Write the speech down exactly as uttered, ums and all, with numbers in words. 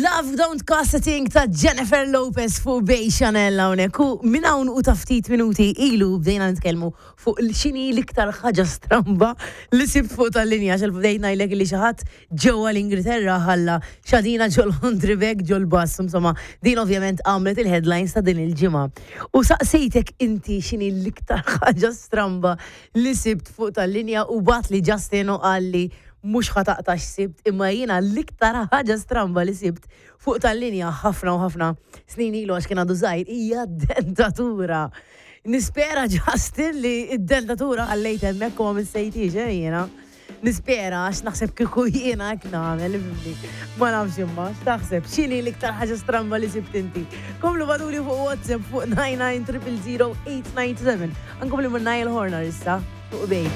Love Don't Cost a Thing ta' Jennifer Lopez fuq Bay Chanel hawnhekk. U minn hawn u ta' ftit minuti ilu bdejna nitkellmu fuq x'inhi l-iktar ħaġa stramba li sibt fuq tal-linja, xel bdejna ngħidlek li xi ħadd ġewwa l-Ingilterra ħalla xadina ġol laundry bag ġol-bus. Insomma, din ovvjament għamlet il-headlines ta' din il-ġimgħa. U saqsejtek inti x'inhi l-iktar ħaġa stramba li sibt fuq tal-linja u bagħatli Justin u qalli mhux ħa taqta' x'sibt, imma jiena l-iktar ħaġa stramba li sibt fuq tal-linja ħafna u ħafna snin ilu, għax kien għadu żgħir, hija dentatura. Nispera, Justin, li id-dentatura ħallejt hemmhekk u ma missejtix, eh, jiena. Nispera, għax naħseb kieku jiena hekk nagħmel, ifhimni. Ma nafx imma, x'taħseb, x'inhi l-iktar ħaġa stramba li sibt inti? Komplu ibagħtuli fuq WhatsApp fuq nine nine zero zero eight nine seven. Ankom li minn Niall Horner issa fuq Bay.